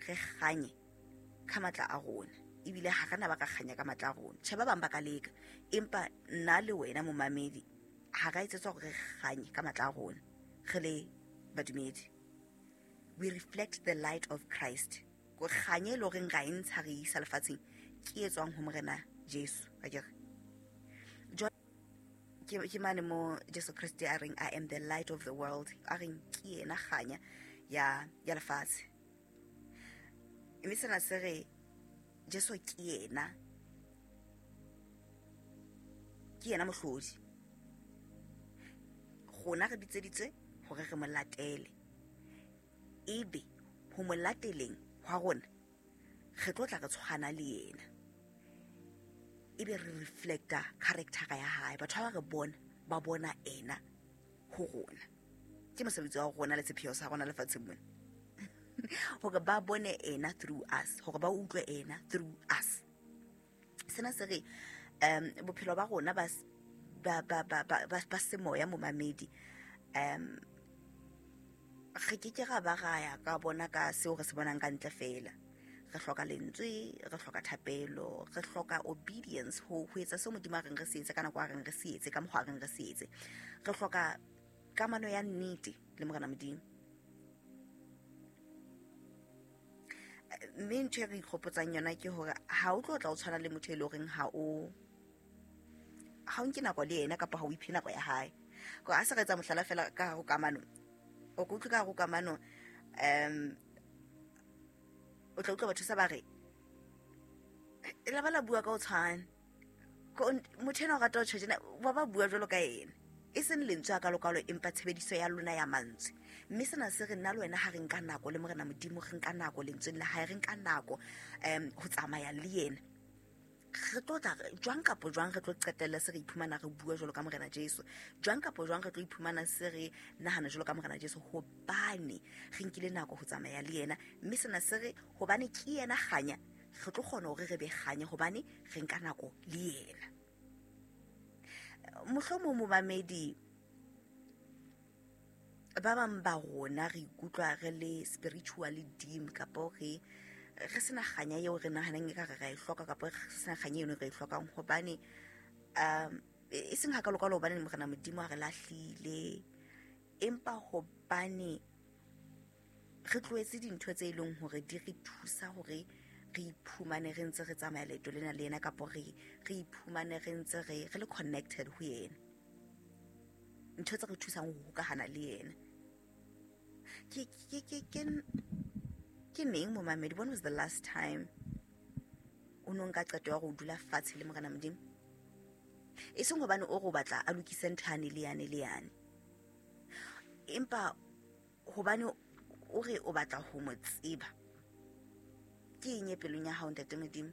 Re kganye ka matla a rona, ebile ha re na ba ka kganya ka matla a rona. Tjhe, ba bang ba ka leka, empa nna le wena momamedi ha ra etsetswa hore re kganye ka matla a rona. Re le badumedi, we reflect the light of Christ. Ko kganye e le horeng ra e ntsha re isa lefatsheng ke e tswang ho Morena Jesu. Akere ke mane mo Jesu Kriste a reng, "I am the light of the world," a reng ke yena kganya ya lefatshe. Mme sena se re Jesu ke yena mohlodi. Rona re bitseditswe hore re mo latele, ebe ho mo lateleng hwa rona re tlo tla re tshwana le yena, ebe re reflecta character ya hae. Batho ba re bona, ba bona ena ho rona. Ke mosebetsi wa rona le sepheo sa rona lefatsheng mona hore ba bone ena through us, hore ba utlwe ena through us. Sena se re bophelo ba rona ba semoya, momamedi, re ke ke ra ba ra ya ka bona ka seo re se bonang ka ntle fela. Re hloka lentswe, re hloka thapelo, re hloka obedience ho etsa seo Modimo a reng re se etse ka nako a reng re se etse, ka mokgwa a reng re se etse. Re hloka kamano ya nnete le Morena Modimo. Mme ntho e re ikgopotsang yona ke hore ha o tlo tla o tshwana le motho e leng horeng ha o nke nako le yena, kapa ha o iphe nako ya hae. Ko a se re etsa mohlala fela ka hare ho kamano, o ka utlwe ka hare ho kamano, o tla utlwa batho sa ba re la ba la bua ka o tshwana. Motho ena o rata ho tjho tjena, ba bua jwalo ka ena, e seng lentswe a kalokalo, empa tshebediso ya lona ya mantswe. Mme sena se re nna le wena ha re nka nako le Morena Modimo, re nka nako lentsweng la hae, re nka nako ho tsamaya le yena, re tlo tla jwang kapo jwang re tlo qetella se re iphumana re bua jwalo ka Morena Jesu. Jwang kapo jwang re tlo iphumana se re nahana jwalo ka Morena Jesu, hobane re nkile nako ho tsamaya le yena. Mme sena se re hobane ke yena kganya, re tlo kgona hore re be kganya hobane re nka nako le yena. Mohlomong, momamedi, ba bang ba rona re ikutlwa re le spiritually dim, kapo re sena kganya eo re nahanang e ka re ra e hloka, kapa re sena kganya eno re e hlokang, hobane e seng hakalokalo hobane Morena Modimo a re lahlile, empa hobane re tlohetse dintho tse e leng hore di re thusa hore re iphumane re ntse re tsamaya leeto lena le yena, kapo re iphumane re ntse re le connected ho yena, ntho tse re thusang ho hokahana le yena. Ke neng, momamedi, when was the last time o no nka qeto ya hore o dula fatshe le Morena Modimo? E seng hobane o re o batla a lokise ntho yane le yane le yane, empa hobane o re o batla ho mo tseba. Ke eng e pelong ya hao, ntate Modimo?